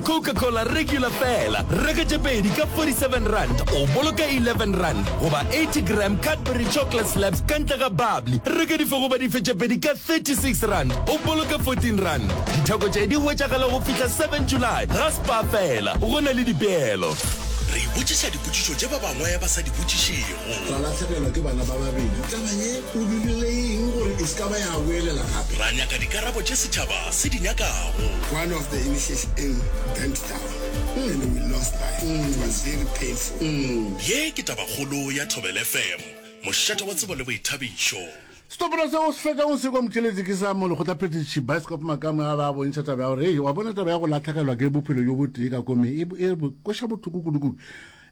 Coca-Cola regular fela, reka tše pedi ka R47 o boloka R11 goba 80 gram Cadbury Chocolate Slabs ka ntle ga bubbly, reka dife goba dife tše pedi ka R36 o boloka R14. Ditheko tše di hwetšagala go fihla 7 July ga Spar fela, go na le dipeelo. Re ipotšiša dipotšišo tše ba bangwe ba sa di botšišego. Ra lahlegelwa ke bana ba babedi. Taba ye o dirile eng gore e se ka ba ya boelela gape? Ra nyaka dikarabo tše setšhaba se di nyakago. One of the initiation burnt down and we lost life. It was very painful. Ye ke Tabakgolo ya Thobela FM, mošate wa tsebo le boithabišo. Setopolo seo se fetšago se kwa motheeletši ke sa molekgotlaphethiši Bioscope Makamo a ba a bontšha taba ya gore hei wa bona taba ya go lahlegelwa ke bophelo bjo botee ka komeng e, e kweša bohloko kudu-kudu.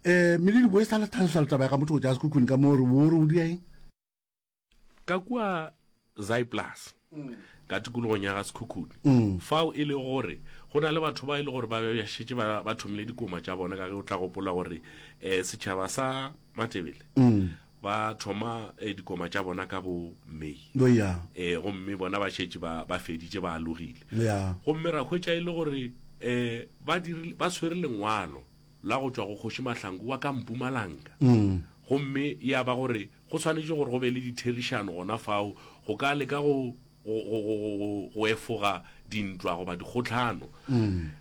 Um Melodi bo e sa le tlhalosa le taba ya ga motho go tša sekhukhune ka mo re bo re o dia eng? Ka kua Zaaiplaas, ka tikologong ya ga Sekhukhune, fao e lego gore go na le batho ba e le gore ba be ba šetše ba, ba thomile dikoma tša bona, ka ge o tla gopola gore um setšhaba sa Matebele ba thoma eh, dikoma tša bona ka bo May. Oh, yeah. Eh, gomme bona ba šetše ba, ba feditše ba alogile. Yeah. Gomme ra hwetša e le gore eh, ba dirile, ba swere lengwalo la go tšwa go Kgoši Mahlangu wa ka Mpumalanga. Gomme ya ba gore go swanetše gore go be le ditherišano gona fao go ka leka go, go, go, go, go, go efoga dintwa goba dikgohlano.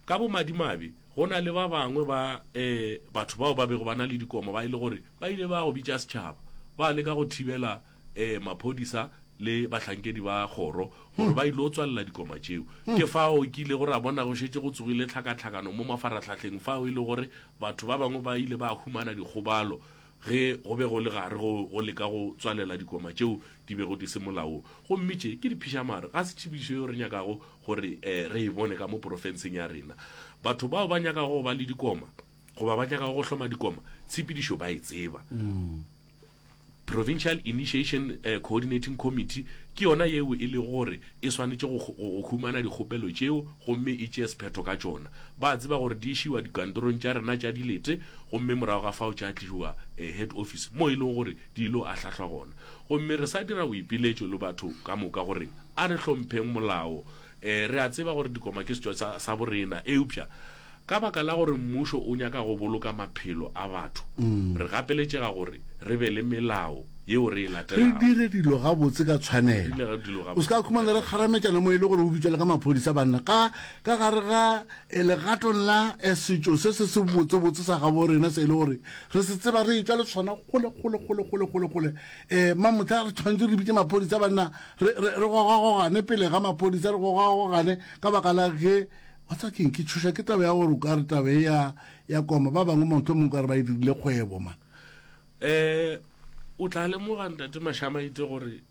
Ka bomadimabe, go na le ba bangwe ba eh, batho bao ba bego ba na le dikoma ba e le gore ba ile ba go bitša setšhaba ba leka go thibela eh, maphodisa le bahlankedi ba kgoro gore ba ile go tswalela dikoma tšeo. Ke fao ke ilego ra bona go šetše go tsogile tlhakatlhakano mo mafaratlhahleng fao e le gore batho ba bangwe ba ile ba humana dikgobalo ge go be go le gare go go leka go tswalela dikoma tšeo di bego di se molaong. Gomme tše ke diphišamare, ga se tšhibišo yeo re nyakago gore re e bone ka mo porofenseng ya rena. Batho bao ba nyakago go ba le dikoma goba ba nyakago go hloma dikoma, tshepedišo ba e tseba. Provincial Initiation Coordinating Committee ke yona yeo e lego gore e swanetše go, go, go humana dikgopelo tšeo gomme e tšee sephetho ka tšona. Ba a tseba gore di išiwa dikantorong tša rena tša dilete gomme morago ga fao tša tlišwa head office mo e lego gore di ilo ahlahlwa gona. Gomme re sa dira boipiletšo le batho ka moka gore a re hlompheng molao. Re a tseba gore dikoma ke setšo sa, sa borena eupša Ka baka la gore mmušo o nyaka go boloka maphelo a batho, re gapeletšega gore re be le melao yeo re e Re latelago. dire dilo gabotse ka tshwanelo. Re dire dilo O se gabotse ka ka khumana re tshwanelo. kgarametšana mo e le gore o bitšwa le ka maphodisa banna. Ka, ka gare ga eh, legatong la eh, setšo se se se botsebotse sa gabo rena se e le gore re se tseba re etšwa le sona kgole kgole kgole kgole kgole kgole. Eh, mamohla re tshwanetse re bitše maphodisa banna re, re, re gogagogane pele ga maphodisa re gogagogane ka baka la ge Wa tseba keng, ke tšhošwa ke taba ya gore o ka re taba e ya, ya koma, ba bangwe mohlomongwe o ka re ba e dirile kgwebo, man. Um o tla lemoga, Ntate Mashamaite, gore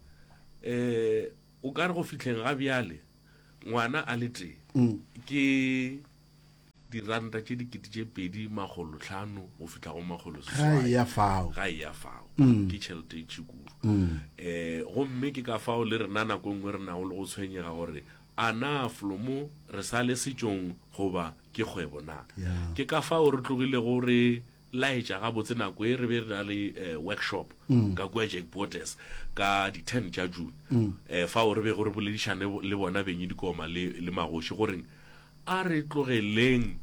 um o ka re go fihleng ga bjale ngwana a le tee ke diranta tše 2500 go fihla go makgolo Ga seswai. e ya fao. Ga e ya fao. Ke tšhelete e ntši kudu. Um gomme ke ka fao le rena nako e nngwe re nago le go tshwenyega gore A na flomo re sa le setšong goba ke kgwebo na? Yeah. Ke ka fao re tlogilego re laetša gabotse nako e re be re na le eh, workshop ka kua Jack Botes ka di 10 tša June. Eh, fao re bego re boledišane le bona benyi dikoma le, le magoši goreng a re tlogeleng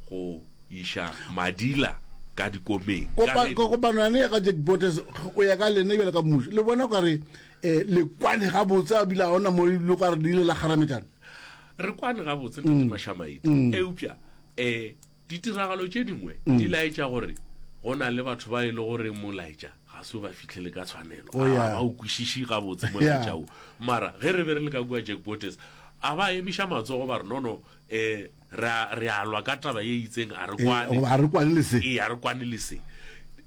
go iša madila ka dikomeng. Ka Kopa, ge- kopano yane ya ka Jack Botes go ya ka lena bjalo ka mmušo le bona o ka re um le kwane gabotse a bile ga ona mo le ka re le ile la kgarametšana? Re kwane gabotse Ntate Mashamaite, eupša um ditiragalo tše dingwe di laetša gore go na le batho ba e le gore molaetša ga se o ba fihlele ka tshwanelo, Oh, ga yeah. ba o kwešiše gabotse molaetša wo. Mara ge re be re le ka kua Jack Botes, a ba emiša matsogo ba re no no, um re a, re a lwa ka taba ye itseng, a re kwane. Goba a re kwane le se. Ee, a re kwane le se.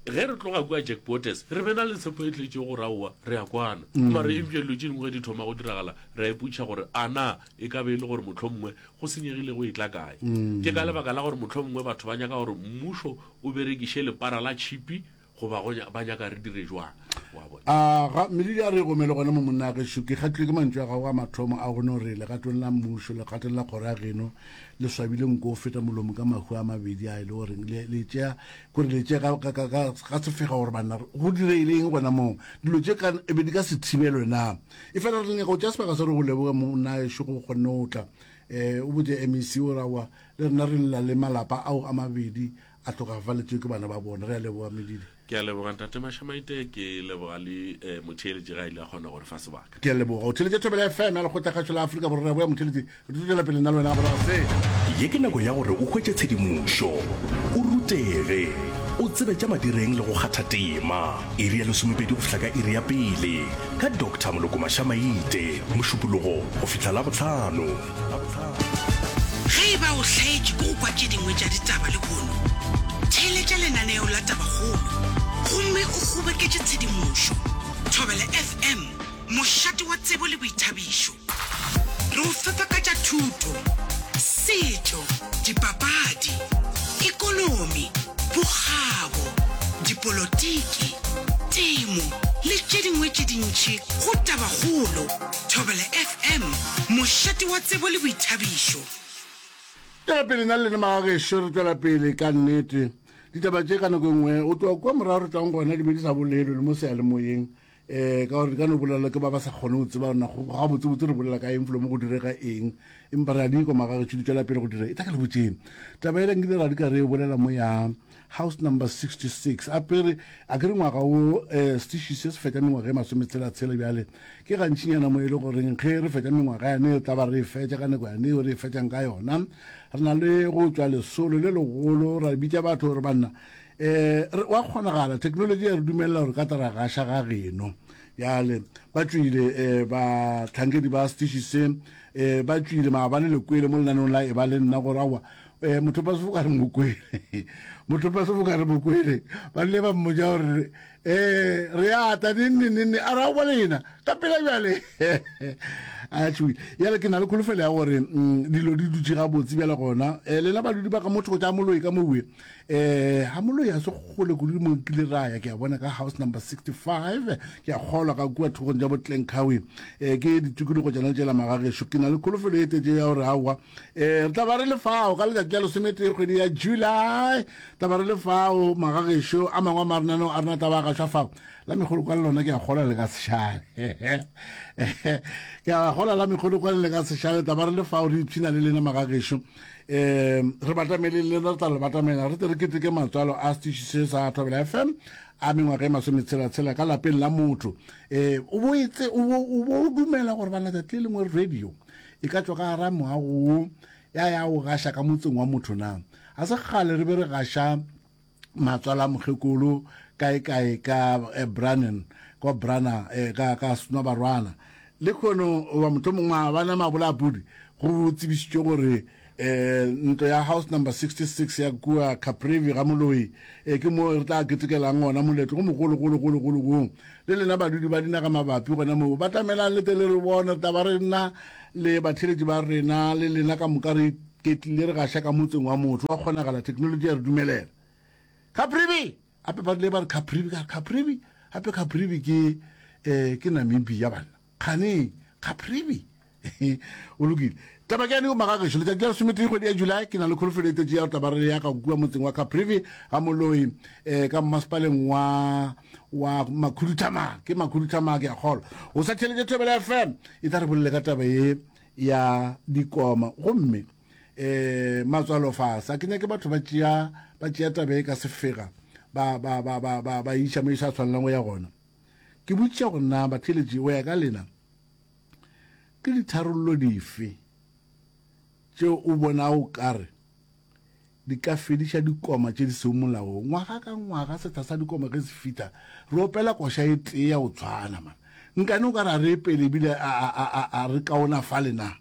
Ge re tloga kua Jack Botes, re be na le tshepo e tletšego gore aowa, re a kwana. Mara eupša dilo tše dingwe ge di thoma go diragala, re a ipotšiša gore a na e ka be e le gore mohlomongwe go senyegile go etla kae. Ke ka lebaka la gore mohlomongwe batho ba nyaka gore mmušo o berekiše lepara la tšhipi goba go ba nyaka re dire jwang, wa bona. A ga, Melodi a re gomele gona mo monna gešo, ke kgatlilwe ke mantšu a gago a mathomo a go no re legatong la mmušo, legatong la kgoro ya geno le swabile nko o feta molomo ka mahu a mabedi a e le goreng le, le tšea, kore le tšea ka, ka, ka, ka, ka sefega gore banna go diregile eng gona moo, dilo tše ka, e be di ka se thibelwe na. Efela re nyaka go tšea sebaka sa gore go leboge monna gešo go kgonne go tla. Um o botše MEC o re aowa le rena re lla le malapa ao a mabedi a hlokafaletšwe ke bana ba bona. Re a leboga Medidi. Ke a leboga Ntate Mashamaite, ke leboga le eh, motheeletši ga ile a kgona go re fa sebaka. Ke a leboga. O theeletše Thobela FM ya Lekgotlakgašo la Afrika Borwa. Re a boya motheeletši, re tlo tšwela pele nna le wena ga morago se. Ye ke nako ya gore o hwetše tshedimošo, o rutege, o tsebe tša madireng le go kgatha tema. Iri ya lesomepedi go fihla ka iri ya pele ka Doctor Moloko Mashamaite, Mošupologo go fihla Labohlano. Ge e ba o hlaetšwe ke go kwa tše dingwe tša ditaba lehono, theeletša lenaneo la Tabakgolo gomme o kgoboketše tshedimošo. Thobela FM, mošate wa tsebo le boithabišo. Re o fepa ka tša thuto, setšo, dipapadi, ekonomi, bokgabo, dipolotiki, temo le tše dingwe tše dintši go Tabakgolo. Thobela FM, mošate wa tsebo le boithabišo. Tšwela pele nna le lena magagešo re tšwela pele ka nnete ditaba tše ka nako e nngwe o tloa kua morago re tšwang gona di be di sa bolelwe le mo seyalemoyeng um ka gore di ka no bolelwa ke ba ba sa kgone go tseba gore gabotsebotse re bolela ka eng felo mo go direga eng empa re a di kwa magagešo di tšwela pele go dira e tla ka le botšeng taba ele nkile ra di ka re e bolela mo ya House number 66 apere a ke re ngwaga wo um setiši se se fetša mengwaga e masometshela-tshela bjale ke gantšinyana mo e le goreng ge re fetša mengwaga yane re tla ba re e fetša ka nako yane eo re e fetšang ka yona re na le go tšwa lesolo le legolo ra bitša batho gore banna um wa kgonagala technology ya re dumelela gore ka tla ra gaša ga geno bjale ba tšwile um batlhankedi ba setiši se um ba tšwile maabane lekwele mo lenaneong la e ba le nna gore aowa Eh, motho pa sefoka re mo kwele motho pa sefoka re mo kwele ba rile ba mmotša gore um re ata nenne nenne a ra go lena ka pela bjale a tšhoile yale ke na le kholofelo ya gore mm, dilo di dutše gabotse bjale gona um lena badudi ba ka motho go tša moloi ka mowe um ga moloi a se kgole kudu mo kile ra ya ke a bona ka house number 65 ke a kgolwa ka kua thokong tša botlenkawe um ke ditikologo tšona tšela magagešo ke na le kholofelo e tetse ya gore aowa Eh, re tla ba re le fao ka letšatši la lesometee kgwedi ya July, tla ba re le fao magagešo a mangwe a marenaneo a rena tla ba gašwa fao. La mekgolokwane lona ke a kgolwa le ka sešale. Ke a kgolwa la mekgolokwane le ka sešale, tla ba re le fao re ipshina le lena magagešo. Eh, re batamele le lena re tla le batamela re tle re keteke matswalo a setiši se sa Thobela FM a mengwaga e masometshela-tshela ka lapeng la motho. Eh, o bo etse o bo o bo dumela gore bana tsatsi le lengwe radio E ka tšwa ka gara moago wo ya ya go gaša ka motseng wa motho na? Ga se kgale re be re gaša matswalo a mokgekolo kaekae ka eh, Brannan, kwa Brana, eh, ka, ka Snobarwana. Le kgono, goba mohlomongwe maabane a mabola a pudi, go tsebišitšwe gore eh, ntlo ya house number 66 ya kua Caprivi ga Moloi eh, ke mo re tla ketekelang gona moletlo go mogologologologolo woo. Le lena badudi ba dinaga mabapi gona moo, batamelang le tle le re bone, re tla ba re nna le batheeletši ba rena le lena ka moka re iketlile re gaša ka motseng wa motho. Wa kgonagala, theknolotši ya re dumelela. Caprivi! Gape ba rile ba re Caprivi, ka re Caprivi, gape Caprivi ke, eh, ke Namibia banna. Kgane, Caprivi! O lokile. Taba ke yane yo magagešo, letšatši la lesometee kgwedi ya July, ke na le kholofelo e tletše ya go tla ba re ya ka kua motseng wa Caprivi ga Moloi, eh, ka mmasepaleng wa wa Makhuduthamaga. Ke Makhuduthamaga ke a kgolwa. O sa theeletše Thobela FM, e tla re bolele ka taba ye ya dikoma. Gomme eh matswalo fase, a ke nyake batho ba tšea ba tšea taba e ka sefega ba ba ba ba ba ba iša mo e sa tshwanelang go ya gona. Ke botšiša gore na batheeletši go ya ka lena Ke ditharollo dife tšeo o bonago o ka re di ka fediša dikoma tše di sego molaong? Ngwaga ka ngwaga sehla sa dikoma ge se fihla, re opela koša e tee ya go tshwana. Man, nkane o ka re a re epele ebile a, a, a, a, a re kaonafale na?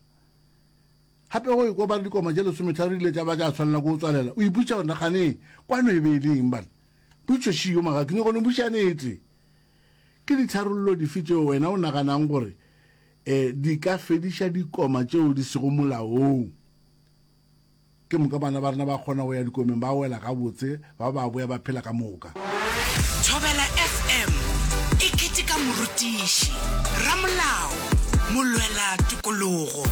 Gape go ekwa ba re dikoma tše lesometharo di ile tša ba tša swanela ke go tswalela, o ipotšiša gore na kgane kwano e be e le eng bana? Potšišo šiyo maga, ke nyaka go no botšiša nete. Ke ditharollo dife tšeo wena o naganago gore di ka fediša dikoma tšeo di sego molaong? Ke moka bana ba rena ba kgona go ya dikomeng ba wela gabotse, ba ba boya ba phela ka moka. Thobela FM e keteka morutiši, ramolao, molwela tokologo,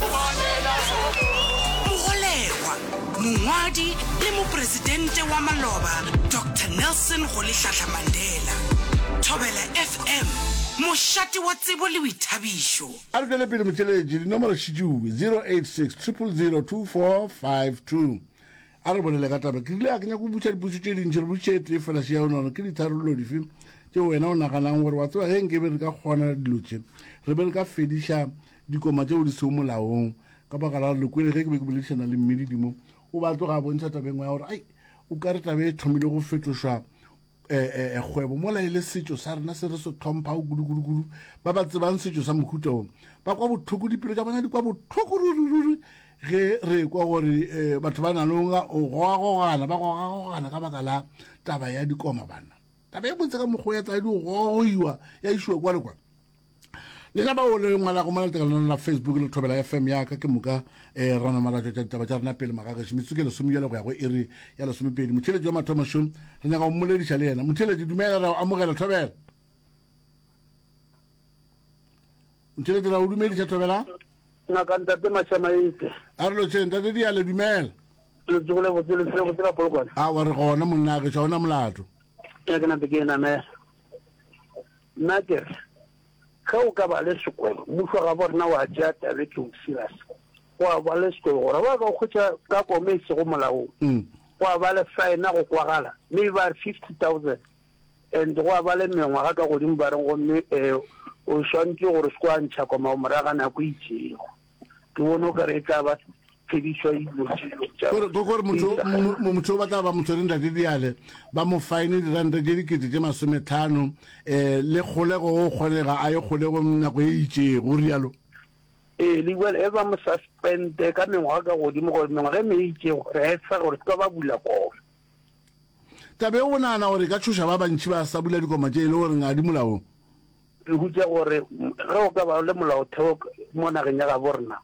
mogolegwa, Mongwadi le mopresidente wa maloba Doctor Nelson Rolihlahla Mandela. Thobela FM, mošate wa tsebo le boithabišo. A re tšwele pele motheeletši, dinomoro šitšuwe, 086 000 2452. A re bolele ka taba. Ke rile a ke nyako go botša dipotšišo tše dintši, re botšiše e tee fela šea o nagana ke ditharollo dife tšeo wena o naganang gore wa tseba ge nke be re ka kgona dilo tše re be re ka fediša dikoma tšeo di sego molaong ka baka la gore le kwele ge ke be ke boledišana le mmedidimo o ba tloga a bontšha tabeng ya gore ai o ka re tabe e thomile go fetošwa eh, eh, kgwebo mola e le setšo sa rena se re se tlhomphago kudu-kudu-kudu ba ba tsebang setšo sa mohuta o ba kwa bohloko dipelo tša bona di kwa bohloko ruri-ruri ge re kwa gore eh, batho ba na le go gogagogana ba gogagogana ka baka la taba ya dikoma bana taba e botse ka mokgwa ya tsa di gogoiwa ya išiwa kwa le kwa lena bao le ngwalago mo letekanong la facebook le thobela fm ya ka ke moka um ra nama ra tšwetša ditaba tša rena pele magagešo metsotso ke lesome bjale go ya go iri ya lesomepedi motheeletši wa mathomo šo re nyaka go mmolediša le yena motheeletši dumela ra o amogela thobela motheeletši ra o dumediša thobela ngaka ntate mashamaite a re lotšheng ntate diale dumela letsogole botse le botse ka polokwane a wa re gona monna gešo ga ona molato ya ke nape ke e namela Nna ke re, ge o ka ba le sekwebo, mmušo wa gabo rena wa tšea taba e too serious, gwa ba le sekwebo gore ba ka o hwetša ka koma e sego molaong, gwa ba le fine go kwagala maybe ba re 50,000 and gwa ba le mengwaga ka godimo ba reng gomme um o swantše gore o se ke wa ntšha koma morago ga nako e itšego. Ke bone o kare e tla ba phedišwa dilo tša Gore gore motho motho ba tla ba mo tshwere ntate diale ba mo fine diranta tše dikete tše masometlhano um le kgolego go kgonega a ye kgolegong nako e itšego o rialo. Ee, le bjale e ba mo suspende ka mengwaga ka godimo gore mengwaga e me e itšego re efa gore se ka ba bula koma. Taba e o nagana gore e ka tšhoša ba bantši ba sa bula dikoma tše e le gore ga di molaong? Re hutša gore ge o ka ba le molaotheo mo nageng ya gabo rena,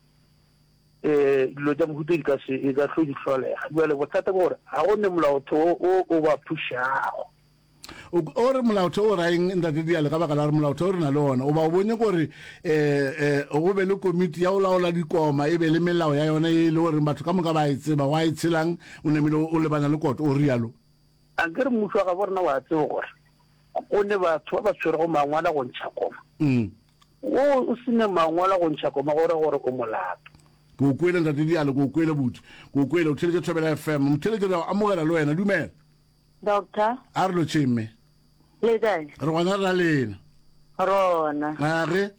um dilo tša mohuta di ka se e ka hlo di hlolega. Bjale bothata ke gore ga go ne molaotheo o o ba thušago. O re molaotheo o ra eng Ntate Diale ka baka la gore molaotheo re na le ona o ba o bonye gore um go be le komiti ya go laola dikoma e be le melao ya yona e le goreng batho ka moka ba e tseba wa e tshelang o namile o lebana le koto o rialo. Ankere mmušo wa gabo rena wa tseba gore go ne batho ba ba tshwerego mangwala go ntšha koma. Wo o se ne mangwala go ntšha koma go ra gore o molato. Ke o kwele Ntate Diale, ke o kwele buti. Ke o kwele, o theletše Thobela FM. Motheletši re a o amogela le wena, dumela. Doctor. A re lotšheng mme. Le kae? Re gona re na lena. Rona. A re.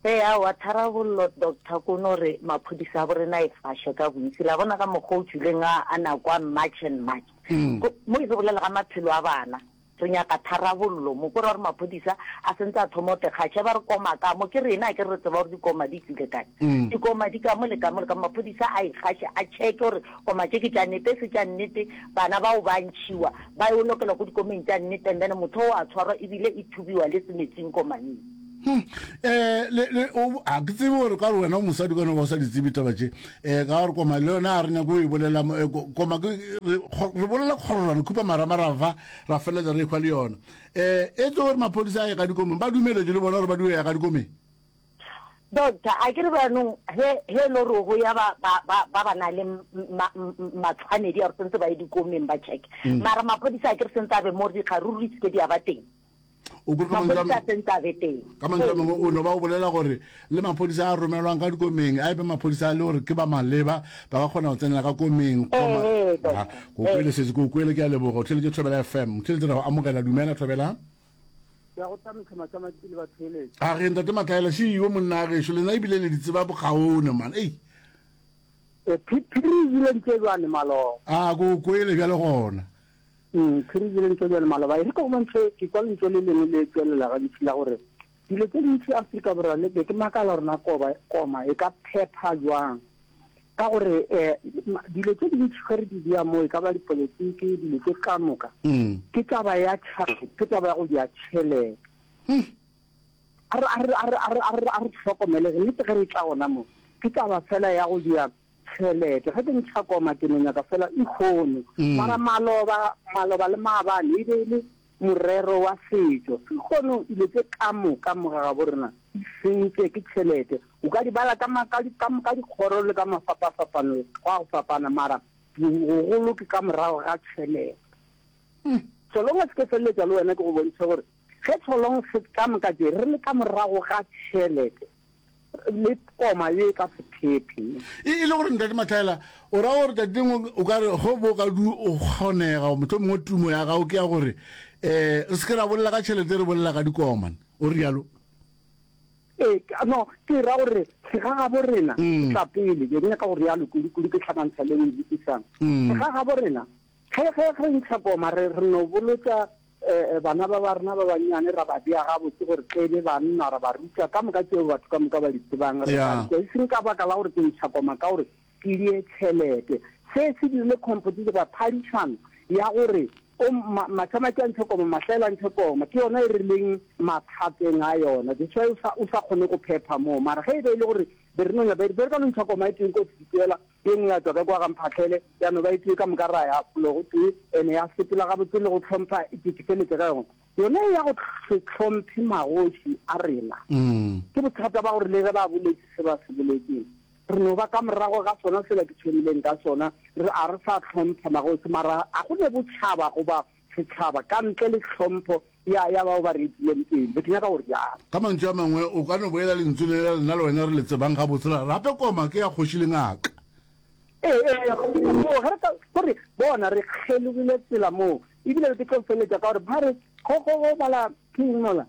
Ee, aowa, tharabollo, Doctor, ko no re maphodisa a borena e fashe ka bontsi. La bona ka mokgwa o tšwileng a, a nako a March and March. Ko, mo e re bolela ga maphelo a bana. Re nyaka tharabollo mo. Ko ra gore maphodisa a sentse a thoma go tekgatšha, ba re koma ka mo. Ke rena, akere re tseba gore dikoma di tšwile kae. Dikoma di ka mo le ka mo le ka mo. Maphodisa a ikgaše, a checke gore koma tše ke tša nnete, e se tša nnete, bana bao ba ntšhiwa, ba yo lokelwa ko dikomeng tša nnete, and then motho o a tshwarwa ebile e thubiwa le semetsing koma yeo. Hmm. Eh, le, le, o, a ke tsebe gore ka gore wena o mosadi ka no ba o sa di tsebe taba tše. Eh, ka gore koma le yona a re nyako e bolela, eh, koma ke, re, re bolela kgororano, khupa maramarava, ra feleletsa re ekhwa le yona. Eh, e tlo gore maphodisa a ye ka dikomeng, ba dumeletše le bona gore ba dio ya ka dikomeng. Doctor, a ke re bjanong he, he e le gore go ya ba, ba, ba, ba ba na le ma, matshwanedi a gore sentse ba ye dikomeng ba check. Mara maphodisa a ke re sentse a be mo gore dikgaruru di seke di a ba teng. O kwe ka mantšu a Maphodisa a sentse a be teng. Ka mantšu a mangwe o no ba o bolela gore le maphodisa a romelwang ka dikomeng a e be maphodisa a le gore ke ba maleba ba ka kgona go tsenela ka komeng. Kgoma Ee, Ha, doctor. ke o kwele sesi, ke o kwele ke a leboga. O theeletše Thobela FM. Motheeletši ra go amogela. Dumela Thobela. Ke a go tamiša Matšamatši le batheeletši. A re ntate Matlaela šiiwe monna gešo lena ebile le di tseba bokaone man. Ei. E, phiri e jele ntše bjane maloba. A ke o kwele bjale gona. Mm, phiri e jele ntše bjale maloba. E re ka go bontšhe, ke kwa lentšu le lengwe le tšwelela gantši la gore dilo tše dintši Afrika Borwa le be ke makala gore na koba, koma e ka phepha jwang. Ka gore um dilo tše dintši ge re di bea mo, e ka ba dipolotiki, dilo tše ka moka, ke taba ya ke taba ya go dia tšhelete. A re, a re, a re, a re, a re, a re hlokomele, nnete ge re tla gona mo, ke taba fela ya go dia tšhelete. Ge ke ntšha koma ke no nyaka fela ikgono. Mara maloba, maloba le maabane e be e le morero wa setšo. Sekgono dilo tše ka moka mo ga gabo rena di sentše ke tšhelete. O ka di bala ka ma, ka di, ka, ka dikgoro le ka mafapafapano gwa go fapana, mara bogolo ke ka morago ga tšhelete. So long as ke feleletša le wena ke go bontšhe gore. Ge tholong se ka moka tše re le ka morago ga tšhelete le koma ye e ka se phephe. E, e le gore Ntate Mahlaela, o ra gore tšatši lengwe o ka re go bo ka du o kgonega, mohlomongwe tumo ya gago ke ya gore um re se ke ra bolela ka tšhelete re bolela ka dikoma, o rialo? Ee, no, ke ra gore segagabo rena mm. tla pele, ke nyaka go rialo kudu kudu ke tlhakantsha le ntsisang. Mm. Segagabo rena ge ge re ntsha koma re re no bolotsa eh, eh, bana ba ba rena ba bannyane ra ba bea gabotse gore tle be banna ra ba ruta ka moka tseo batho ka moka ba di tsebang re ba ruta e seng ka baka la gore ke ntsha koma ka gore ke die tšhelete. Se se dirile competition goba phadišano ya gore o Masamaki a ntshe koma, Mahlaela a ntshe koma. Ke yona e re leng mathateng a yona. That's why o sa, o sa kgone go phepha moo. Mara ge e be e le gore be re no be re ka no ntsha koma e tee ko Sedikela, ye nngwe ya tšwa ka kwa ga Mphahlele, ya no ba e tee ka moka ra ya felo go tee, ene ya sepela gabotse le go hlompha, ke, ke feletše ka yona. Yona e ya go se hlomphe magoši a rena. Ke bothata ba gore le ge ba boletše se ba se boletšeng, Re no ba ka morago ga sona sela ke thomileng ka sona, re a re sa hlompha magoši, mara a go ne botšhaba goba setšhaba ka ntle le hlompho ya, ya bao ba re etileng pele. Be ke nyaka go rialo. Ka mantšu a mangwe, o ka no boela lentšu le la nna le wena re le tsebang gabotse la re, Gape koma ke ya kgoši le ngaka. Ee, ee, godimo moo, ge re ka, gore, bona, re kgelogile tsela moo. Ebile ke tlo feletša ka gore ba re, go, go, go bala, ke eng mola?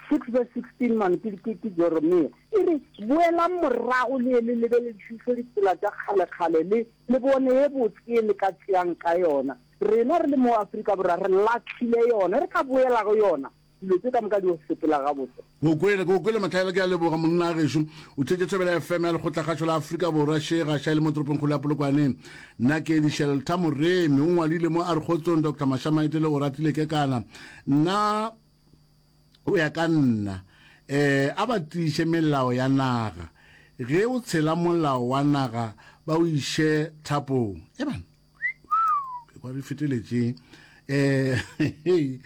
6 verse 16 man ke ke ke Jeremia e re boelang morago le ye le lebeledišiše ditsela tša kgalekgale le le bone ye botse ye le ka tšeang ka yona. Rena re le mo Afrika Borwa re lahlile yona, re ka boela go yona dilo tše ka moka di yo sepela gabotse. Ke o kwele, ke o kwele Mahlaela, ke a leboga monna gešo. O theetše Thobela FM ya Lekgotlakgašo la Afrika Borwa, še gaša e le mo toropongkgolo ya Polokwane. Nna ke Shelter Moremi, o ngwadile mo a re kgotsong Doctor Mashamaite le Oratile Kekana. Nna Go ya ka nna, um a ba tiiše melao ya naga. Ge o tshela molao wa naga ba o iše thapong. E bana, e kwa re feteletše. Um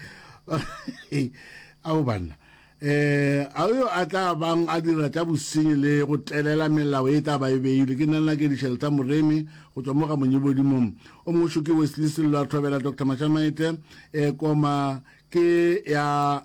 ao banna eh a yo a tla bang a dira tša bosenyi le go telela melao e tla ba e beile ke nna nna ke dišheleta moremi go tswa mo ga monyebodimong o mongwe ke Wesley Sello a thobela Dr Mashamaite eh koma Ke ya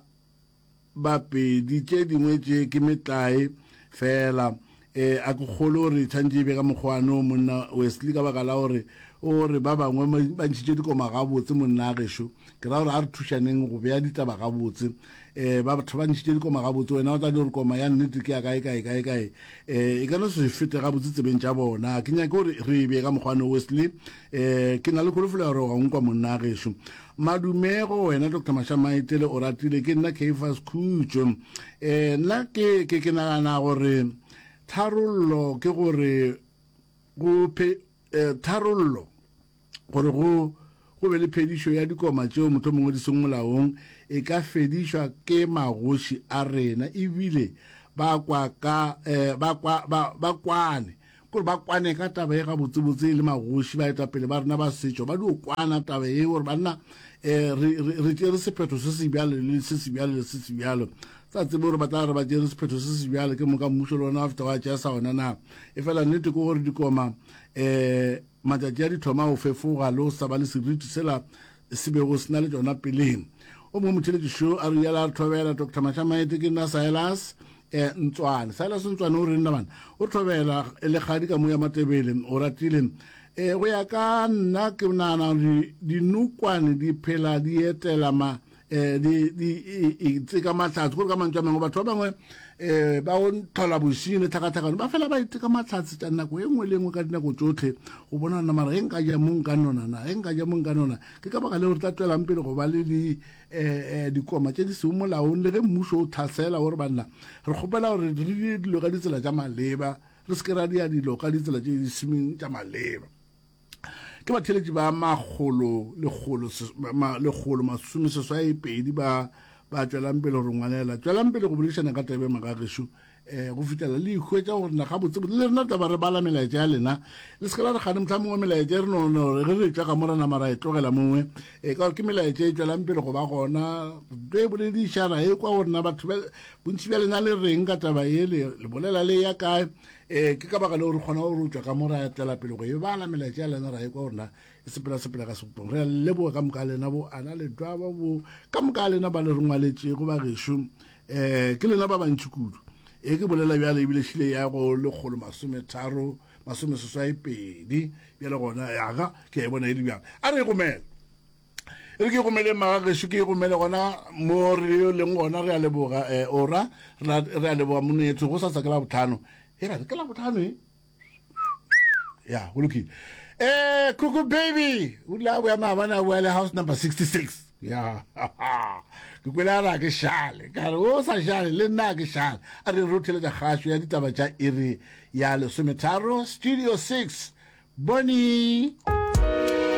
Bapedi, tše dingwe tše ke metlae fela. E, a ke kgolwe gore e tshwanetše e be ka mokgwa no, monna Wesley, ka baka la gore o re ba bangwe ba ntšhitše dikoma gabotse, monna gešo. Ke ra gore a re thušaneng go bea ditaba gabotse. E, ba batho ba ntšhitše dikoma gabotse, wena o tla di gore koma ya nnete ke ya kae, kae, kae, kae. E, e ka no se fete gabotse tsebeng tša bona. Ke nyake gore re e bee ka mokgwa no, Wesley. E, ke na le kholofelo ya gore wa nkwa, monna gešo. Madume go wena Doctor Mashamaitele o ratile ke nna Caiphus Khutšo. Eh nna ke ke ke nagana gore tharollo ke gore go phe eh, tharollo gore go go be le phedišo ya dikoma tšeo mohlomongwe di seng molaong e ka fedišwa ke magoši a rena ebile ba kwa ka eh, ba kwa ba, ba kwane Kore ba kwane ka taba ye gabotsebotse e le magoši, baetapele ba rena ba setšo, ba dio kwana taba ye gore banna um re, re, re tšere sephetho se se bjalo le se se bjalo le se se bjalo. Sa tsebe gore ba tla re ba tšere sephetho se se bjalo ke moka mmušo le ona wa feta wa tšea sa ona na. E fela nnete ke gore dikoma um matšatši a di thoma go fefoga le go sa ba le seriti sela se bego se na le tšona peleng. O mongwe motheletši šo a re yela a re thobela Doctor Mashamaete ke nna Silas eh, Ntswane. Silas Ntswane o re nna bana o thobela le kgadi ka mo ya Matebele o ratile eh, go ya ka nna ke nagana gore dinokwane di phela di etela ma eh, di di e tseka mahlatse gore ka mantšu a mangwe batho ba bangwe eh ba o tlhola bosenyi le tlhakatlhakano ba fela ba iteka mahlatse tša nako e nngwe le nngwe ka dinako tšohle go bona nna mara e nka ja mo nka nona na e nka ja mo nka nona ke ka baka leo re tla tswelang pele go ba le di eh, eh, dikoma tše di seng molaong le ge mmušo o tlhasela gore banna re kgopela gore re dire dilo ka ditsela tša maleba re se ke ra dia dilo ka ditsela tše di semeng tša maleba Ke batheeletši ba makgolo lekgolo lekgolo masomeseswai pedi ba ba tšwelang pele go re ngwalela. Tšwelang pele go boledišana ka taba e magagešo. um go fihlela le ikhwetša gore na gabotsebotse le rena taba re bala melaetša ya lena le se ke la re gane motlha mongwe melaetša e re no no ge re tšwa ka mo re nama ra e tlogela mongwe e ka gore ke melaetša e tšwelang pele go ba gona re boledišana e kwa gore na batho bontši bja lena le reng ka taba ye le bolela le ya kae um ke ka baka leo re kgona gore o tšwa ka mo ra tlela pele go e bala melaetša ya lena ra e kwa gore na e sepela sepela ka sebopong re a leboga ka moka lena bo ana le dwaba bo ka moka lena ba le re ngwaletšego ba gešo um ke lena ba bantši kudu e ke bolela bjale ebile šile ya go lekgolo masometharo masomeseswai pedi bjale gona yaga ke a e bona e le bjang a re e gomele e re ke gomele maga gešo ke e gomele gona mo re leng gona re a leboga um ora re a leboga monetho go sa sa ke la botlhano e ra ke la botlhano e ya go lokile eh kuku baby o ile a boya maabane a boya le house number 66 ya ke kwele a re a ke šale ka re o sa šale le nna a ke šale a re re theletša kgašo ya ditaba tša iri ya lesometharo studio 6 boni.